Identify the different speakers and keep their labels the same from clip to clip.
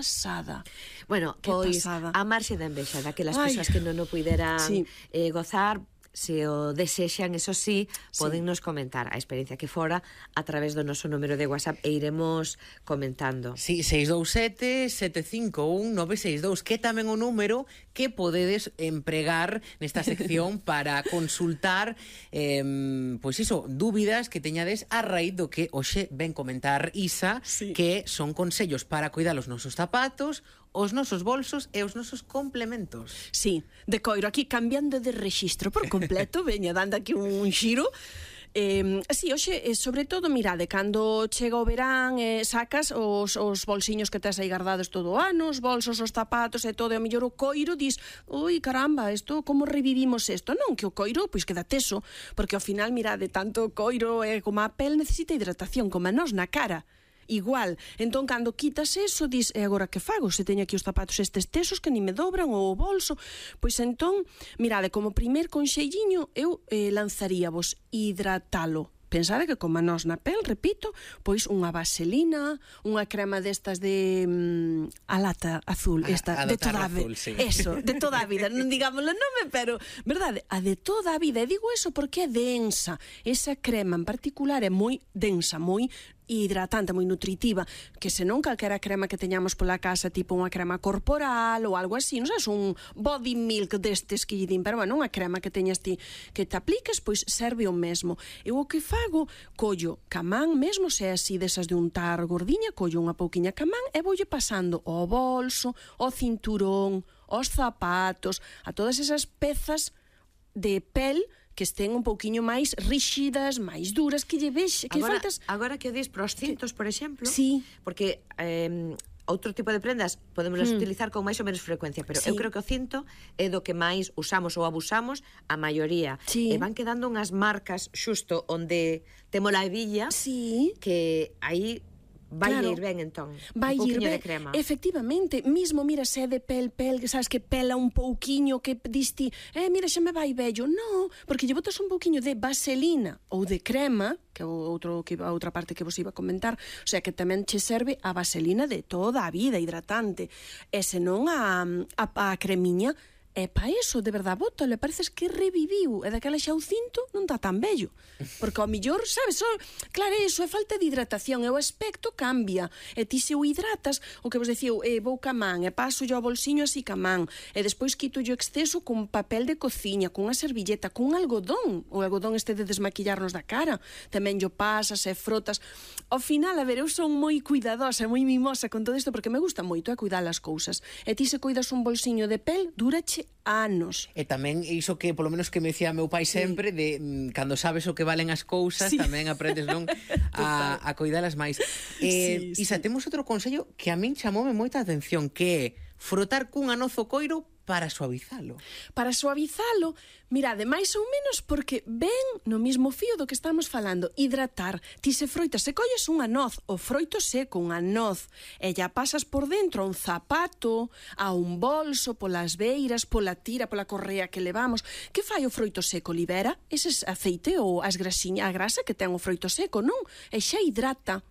Speaker 1: pasada.
Speaker 2: Bueno, pois a marxe da envexa daquelas persoas que non o puideran gozar, se o desexan, eso sí, poden nos comentar a experiencia que fora a través do noso número de WhatsApp e iremos comentando.
Speaker 3: Sí, 627-751-962, que tamén o número que podedes empregar nesta sección para consultar pois iso, dúbidas que teñades a raíz do que hoxe ven comentar Isa, que son consellos para cuidar os nosos zapatos, os nosos bolsos e os nosos complementos.
Speaker 1: Sí, de coiro, aquí cambiando de rexistro por completo, veña dando aquí un xiro. Sí, hoxe, sobre todo, mirade, cando chega o verán, sacas os bolsiños que tes aí guardados todo o ano, os bolsos, os zapatos e todo, e ao mellor o coiro dis, ui, caramba, isto, como revivimos isto? Non, que o coiro, pois queda teso, porque ao final, mirade, tanto o coiro como a pel necesita hidratación, como a nós na cara. Igual, entón cando quitas eso dis, e agora que fago? Se teño aquí os zapatos estes tesos que ni me dobran ou o bolso, pois entón mirade, como primer conselliño eu lanzaríavos hidratalo. Pensade que como a nós na pel, repito, pois unha vaselina, unha crema destas de a lata azul, esta de toda a vida, eso, de toda a vida, non digamos o nome, pero verdade, a de toda a vida, e digo eso porque é densa, esa crema en particular é moi densa, moi hidratante, moi nutritiva, que senón calquera crema que teñamos pola casa, tipo unha crema corporal ou algo así, non sabes, un body milk destes que lle din, pero bueno, unha crema que teñas ti que te apliques, pois serve o mesmo. Eu o que fago, collo camán mesmo, se é así desas de untar gordiña, collo unha pouquiña camán e voulle pasando ao bolso, ao cinturón, aos zapatos, a todas esas pezas de pel que estén un pouquiño máis ríxidas, máis duras, que lle vexe, que faltas...
Speaker 2: Agora que o dis pros cintos, por exemplo,
Speaker 1: porque
Speaker 2: outro tipo de prendas podemos utilizar con máis ou menos frecuencia, pero eu creo que o cinto é do que máis usamos ou abusamos a maioría. E van quedando unhas marcas xusto onde temos a hebilla, que aí vai ir ben, entón,
Speaker 1: vai
Speaker 2: un pouquiño
Speaker 1: ir ben,
Speaker 2: de crema.
Speaker 1: Efectivamente, mismo, mira, se é de pel, que sabes que pela un pouquiño, que diste, mira, xa me vai bello. No, porque lle botas un pouquiño de vaselina ou de crema, que é a outra parte que vos iba a comentar, o sea, que tamén che serve a vaselina de toda a vida, hidratante, e senón a cremiña, e pa iso, de verdad, bótalo, pareces que reviviu, e daquela xa o cinto non está tan bello, porque ao millor, sabes, claro, iso é falta de hidratación, e o aspecto cambia, e ti se o hidratas, o que vos decía, vou ca man, e paso yo ao bolsiño así ca man, e despois quito yo exceso con papel de cociña, con unha servilleta, con algodón, o algodón este de desmaquillarnos da cara, tamén yo pasas e frotas. Ao final, a ver, eu son moi cuidadosa, moi mimosa con todo isto, porque me gusta moito cuidar as cousas, e ti se cuidas un bolsiño de pel, durache anos.
Speaker 3: E tamén iso que, polo menos que me decía meu pai sempre, de cando sabes o que valen as cousas, tamén aprendes, non, a cuidalas máis. Isa, temos outro consello que a min chamoume moita atención, que é frotar cunha noz o coiro para suavizalo.
Speaker 1: Para suavizalo, mirade, máis ou menos porque ven no mismo fío do que estamos falando, hidratar. Ti se froitas, se colles unha noz, o froito seco, unha noz, e ya pasas por dentro a un zapato, a un bolso, polas beiras, pola tira, pola correa que levamos. Que fai o froito seco? Libera ese aceite ou a grasa que ten o froito seco, non? E xa hidrata.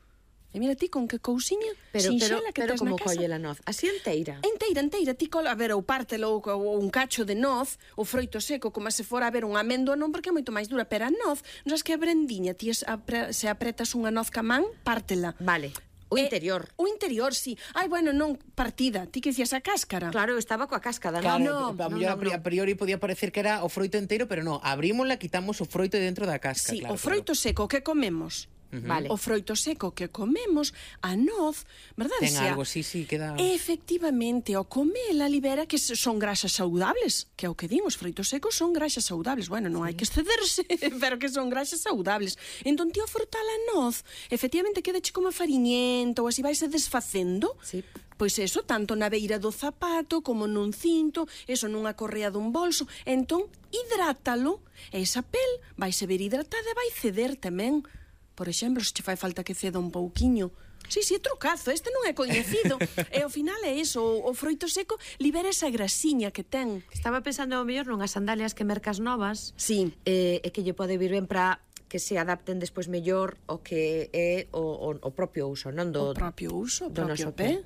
Speaker 1: E mira ti con que cousiña sinxela que tes na casa.
Speaker 2: Pero como colle a noz? Así enteira?
Speaker 1: Enteira. Ti cola, a ver, ou pártelo ou un cacho de noz, o froito seco, como se fora a ver unha améndoa, non, porque é moito máis dura, pero a noz, non sabes que a brendiña, ti se apretas unha noz ca man, pártela.
Speaker 2: Vale. O interior.
Speaker 1: O interior, sí. Ai, bueno, non, partida. Ti que dicías a cáscara.
Speaker 2: Claro, estaba coa cáscara,
Speaker 3: claro,
Speaker 2: non?
Speaker 3: A priori podía parecer que era o froito inteiro, pero non, abrímola, quitamos o froito dentro da cáscara.
Speaker 1: Sí, claro, o froito seco que comemos. Vale. O froito seco que comemos, a noz, verdade?
Speaker 3: Ten algo, sí, queda...
Speaker 1: Efectivamente, o comela libera que son grasas saudables, que é o que din, os froitos secos son grasas saudables. Bueno, non hai que excederse, pero que son grasas saudables. Entón, ti ao frotar a noz, efectivamente, quedache como fariñento, ou así vaise desfacendo.
Speaker 2: Sí.
Speaker 1: Pois eso, tanto na beira do zapato, como nun cinto, eso nunha correa dun bolso. Entón, hidrátalo, e esa pel vaise ver hidratada e vai ceder tamén. Por exemplo, se che fai falta que ceda un pouquiño. Sí, é trucazo, este non é coñecido. E ao final é iso, o froito seco libera esa grasiña que ten.
Speaker 2: Estaba pensando ao mellor nunhas sandalias que mercas novas,
Speaker 1: sí,
Speaker 2: e que lle pode vir ben para que se adapten despois mellor o que é o propio uso, non do
Speaker 1: propio uso, o
Speaker 2: do
Speaker 1: propio
Speaker 2: noso
Speaker 1: pé.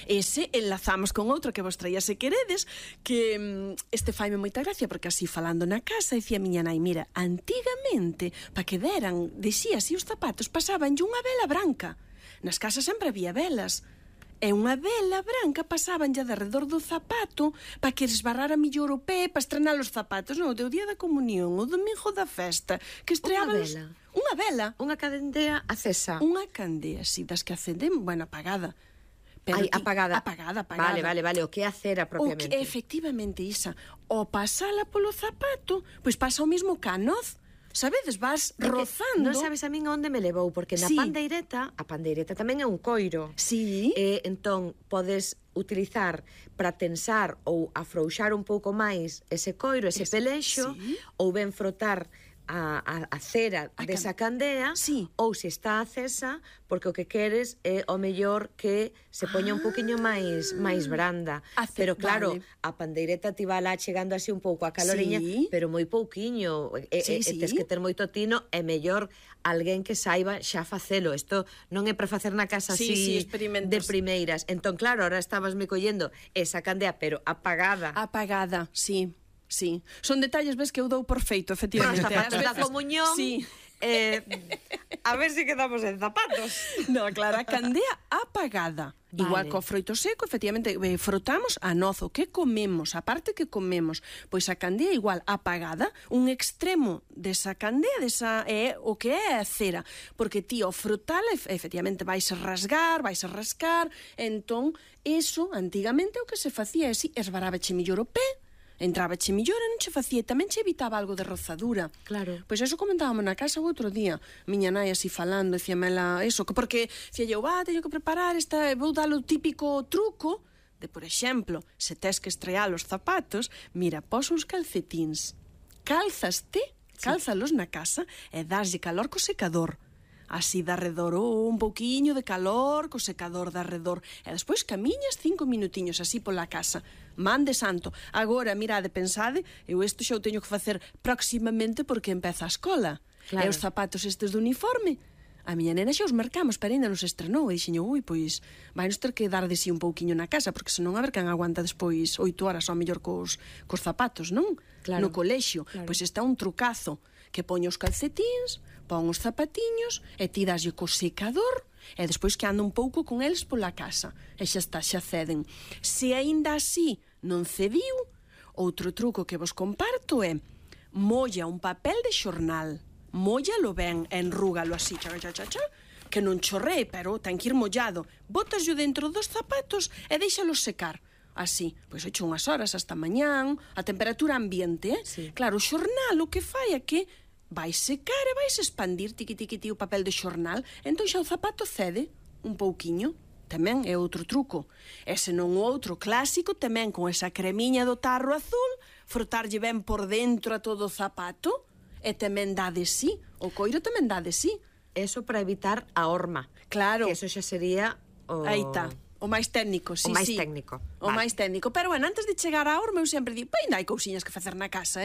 Speaker 1: Ese enlazamos con outro que vos traía se queredes, que este faime moita gracia, porque así falando na casa, dicía miña nai, mira, antigamente, pa que deran, dicía así os zapatos, pasabanlle unha vela branca. Nas casas sempre había velas. E unha vela branca pasabanlle de redor do zapato para que esbarrara millor o pé para estrenar os zapatos. Non, o día da comunión, o domingo da festa, que estreaban unha vela.
Speaker 2: Unha candea acesa.
Speaker 1: Unha candea, si, das que acenden, bueno, apagada.
Speaker 2: Pero apagada.
Speaker 1: Apagada.
Speaker 2: Vale, o que é a cera propiamente.
Speaker 1: Efectivamente, Isa. O pasala polo zapato, pois pasa o mismo ca noz. Sabedes, vas rozando.
Speaker 2: Non sabes a min onde me levou, porque na pandeireta, a pandeireta tamén é un coiro.
Speaker 1: Sí.
Speaker 2: Entón, podes utilizar para tensar ou afrouxar un pouco máis ese coiro, ese pelexo, ou ben frotar a cera desa candea, ou se está acesa, porque o que queres é o mellor que se poña un poquinho máis branda. Pero claro, a pandeireta ti va lá chegando así un pouco a caloriña, pero moi pouquiño, tes que ter moito tino, é mellor alguén que saiba xa facelo. Isto non é para facer na casa así de primeiras. Entón, claro, ahora estabas me collendo esa candea, pero apagada.
Speaker 1: Apagada, sí. Sí, son detalles, ves, que eu dou por feito, efectivamente.
Speaker 2: Para os zapatos da comunión, a ver se quedamos en zapatos.
Speaker 1: No, claro, a candea apagada. Vale. Igual co froito seco, efectivamente, frotamos a noz, o que comemos, a parte que comemos, pois a candea igual apagada, un extremo desa candea, desa é o que é a cera, porque ti ao frotala, efectivamente, vais a rasgar, vais a rascar, entón, eso, antigamente, o que se facía é si, esbarabache millor o pé, entrabache millor e non che facía, tamén che evitaba algo de rozadura.
Speaker 2: Claro.
Speaker 1: Pois eso comentábamos na casa o outro día, miña nai así falando, dicíamela eso, porque dicía eu, teño que preparar vou dar o típico truco de, por exemplo, se tes que estrear os zapatos, mira, pos uns calcetíns, cálzalos na casa e daslle calor co secador. Así de arredor, un pouquiño de calor co secador de arredor, e despois camiñas 5 minutiños así pola casa. Man de santo. Agora, mirade, pensade, eu isto xa o teño que facer proximamente porque empeza a escola. Claro. E os zapatos estes de uniforme, a miña nena xa os marcamos, pero ainda non se estrenou, e dixen, pois vai nos ter que dar de si un pouquiño na casa, porque senón a ver quen aguanta despois 8 horas ao mellor cos zapatos, non? Claro. No colexio. Claro. Pois está un trucazo, que poño os calcetíns, pon os zapatiños, e ti daslle co secador, e despois que anda un pouco con eles pola casa, e xa está, xa ceden. Se aínda así non cediu, outro truco que vos comparto é molla un papel de xornal, mollalo ben, enrúgalo así, que non chorree, pero ten que ir mollado, botaslo dentro dos zapatos e deixalo secar. Así, pois hecho unhas horas hasta mañán, a temperatura ambiente,
Speaker 2: Sí.
Speaker 1: Claro, o xornal o que fai é que vai secar e vais expandir tiqui o papel de xornal, entón xa o zapato cede un pouquiño. Tamén é outro truco. E se non o outro clásico, tamén con esa cremiña do tarro azul, frotarlle ben por dentro a todo o zapato, e tamén dá de sí. O coiro tamén dá de sí.
Speaker 2: Eso para evitar a horma.
Speaker 1: Claro.
Speaker 2: Que eso xa sería
Speaker 1: Aí está. O máis técnico, sí,
Speaker 2: o máis técnico.
Speaker 1: O máis técnico. Pero, bueno, antes de chegar á horma, eu sempre digo, ainda hai cousiñas que facer na casa,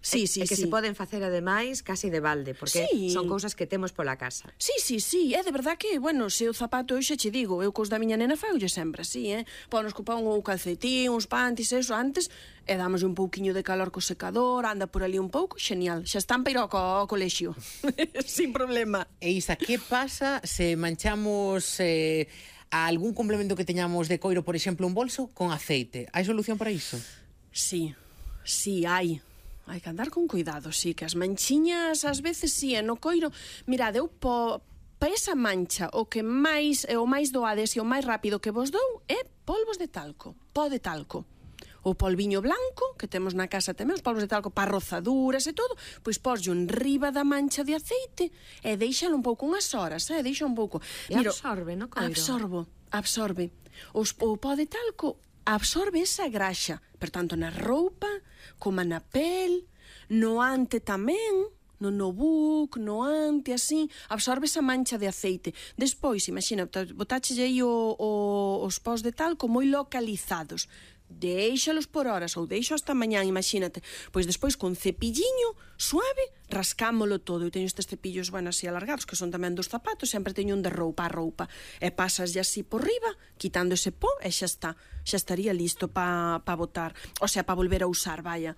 Speaker 1: Sí.
Speaker 2: Que se poden facer, ademais, casi de balde, porque son cousas que temos pola casa.
Speaker 1: Sí. É de verdad que, bueno, se o zapato, eu xa che digo, eu cos da miña nena faulle sempre así, Ponos cupón ou calcetín, uns pantis, eso, antes, e damos un pouquiño de calor co secador, anda por ali un pouco, xenial. Xa están para ir ao colexio. Sin problema.
Speaker 3: E Isa, que pasa se manchamos a algún complemento que teñamos de coiro, por exemplo, un bolso con aceite? Hai solución para iso?
Speaker 1: Sí, hai. Hai que andar con cuidado, sí, que as manchiñas ás veces no coiro. Mirade, eu pa esa mancha o máis doades e o máis rápido que vos dou é polvos de talco, pó de talco. O polviño blanco, que temos na casa tamén, os polvos de talco para rozaduras e todo, pois poslle enriba da mancha de aceite e deixalo un pouco unhas horas, deixa un pouco.
Speaker 2: E absorbe, no coiro?
Speaker 1: Absorbe. O pó de talco absorbe esa graxa, per tanto na roupa, como na pel, no ante tamén, no notebook, no ante, así, absorbe esa mancha de aceite. Despois, imagina, botáchelle aí os pós de talco moi localizados. deixalos por horas ou deixo hasta mañán, imagínate. Pois despois con cepilliño suave rascámolo todo. Eu teño estes cepillos, bueno, así alargados, que son tamén dos zapatos, sempre teño un de roupa a roupa. E pasas así por riba, quitando ese pó, e xa está. Xa estaría listo pa botar. O sea, pa volver a usar, vaya.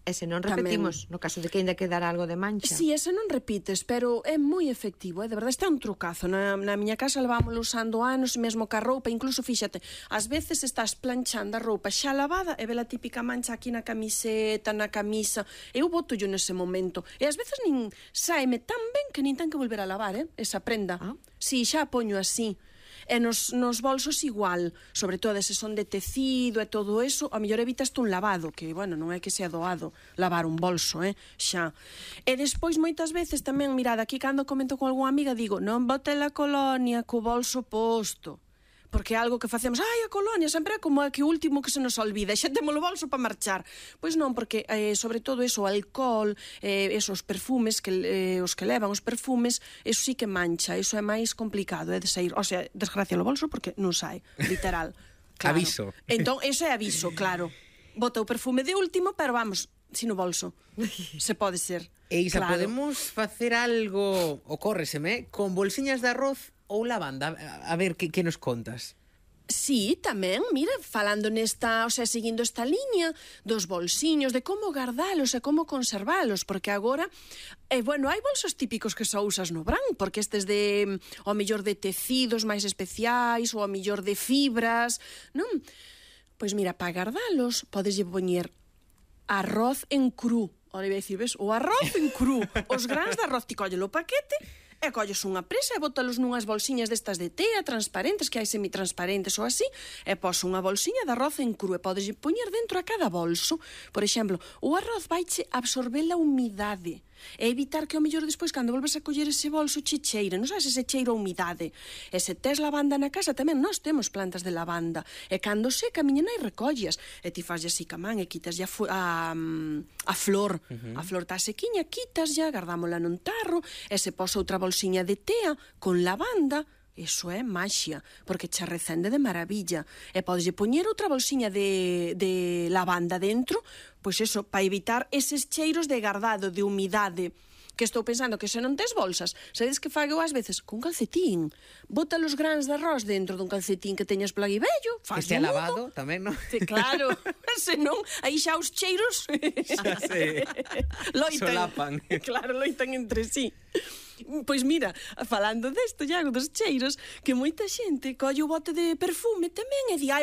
Speaker 2: E se non repetimos, no caso de que ainda quedara algo de mancha.
Speaker 1: Si, ese non repites, pero é moi efectivo, de verdade, este é un trucazo. Na miña casa levámoslo usando anos, mesmo ca roupa, incluso, fíxate, ás veces estás planchando a roupa xa lavada e ve a típica mancha aquí na camiseta, na camisa, eu boto-yo nese momento, e ás veces nin saeme tan ben que nin ten que volver a lavar, esa prenda. Si, xa a poño así. E nos bolsos igual, sobre todo se son de tecido e todo eso, a mellor evitaste un lavado, que, bueno, non é que sea doado lavar un bolso, xa. E despois, moitas veces, tamén, mirad, aquí cando comento con algunha amiga, digo, non bote a colonia co bolso posto, porque é algo que facemos, a colonia, sempre é como que o último que se nos olvida, xa temos o bolso para marchar. Pois non, porque sobre todo eso, o alcohol, esos perfumes, os que levan os perfumes, eso sí que mancha, eso é máis complicado, é de sair, o sea, desgracia o bolso porque non sai, literal.
Speaker 3: Claro. Aviso.
Speaker 1: Entón, eso é aviso, claro. Bota o perfume de último, pero vamos, sin o bolso. Se pode ser.
Speaker 3: E Isa, claro, podemos facer algo, ocórreseme, con bolsiñas de arroz ou lavanda? A ver, que nos contas?
Speaker 1: Sí, tamén, mira, falando nesta, o sea, seguindo esta liña dos bolsiños, de como gardalos e como conservalos, porque agora, bueno, hai bolsos típicos que só usas no verán, porque estes de, ao mellor de tecidos máis especiais, ou ao mellor de fibras, non? Pois mira, para gardalos, podes poñer arroz en cru. Ora, iba a dicir, ves, o arroz en cru, os grans de arroz, ti collelo o paquete, e colles unha presa e bótalos nunhas bolsiñas destas de tea transparentes, que hai semitransparentes ou así, e pos unha bolsiña de arroz en cru e podes poñer dentro a cada bolso. Por exemplo, o arroz vaiche absorber a humidade e evitar que ao mellor despois cando volves a coller ese bolso cheire, non sabes ese cheiro a humidade. E se tes lavanda na casa tamén, nós temos plantas de lavanda, e cando seca a miña nai recollas e ti faz así ca man e quitas a flor, a flor tá sequiña, quitas ya, gardámola nun tarro e se posa outra bolsiña de tea con lavanda. Eso é maxia, porque che recende de maravilla. E podes poñer outra bolsiña de lavanda dentro, pois eso, para evitar eses cheiros de gardado, de humidade. Que estou pensando que se non tes bolsas, sabedes que fago ás veces cun calcetín. Bota os grans de arroz dentro dun calcetín que teñas por aí vello, faz
Speaker 3: que lavado tamén, non?
Speaker 1: Claro, se non, aí xa os cheiros loitan.
Speaker 3: Solapan.
Speaker 1: Claro, loitan entre sí. Pois mira, falando desto, Iago, dos cheiros, que moita xente colle o bote de perfume tamén e di,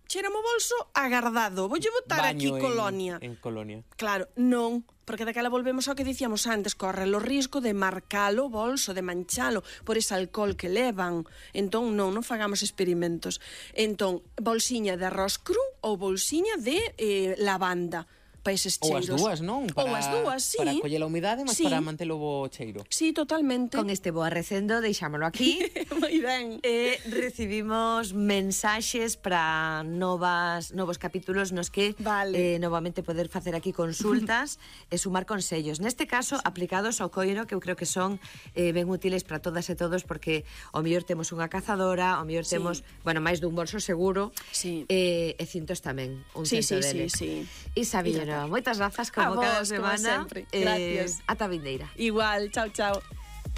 Speaker 1: cheira mo bolso agardado, voulle botar aquí colonia.
Speaker 3: En colonia.
Speaker 1: Claro, non, porque daquela volvemos ao que dicíamos antes, corre o risco de marcalo o bolso, de manchalo por ese alcohol que levan. Entón, non fagamos experimentos. Entón, bolsiña de arroz cru ou bolsiña de lavanda. Para eses cheiros.
Speaker 3: Ou as dúas, non?
Speaker 1: Ou as dúas, sí.
Speaker 3: Para coller a humidade, mas para mantelo o cheiro.
Speaker 1: Sí, totalmente.
Speaker 2: Con este boa recendo, deixámolo aquí.
Speaker 1: Moi ben.
Speaker 2: Recibimos mensaxes para novos capítulos nos que novamente poder facer aquí consultas e sumar consellos. Neste caso, aplicados ao coiro, que eu creo que son ben útiles para todas e todos, porque ao mellor temos unha cazadora, ao mellor temos, bueno, máis dun bolso seguro, e cintos tamén, un cento deles. Isa Villena, moitas grazas como cada semana.
Speaker 1: Gracias.
Speaker 2: Ata vindeira.
Speaker 1: Igual, chao, chao.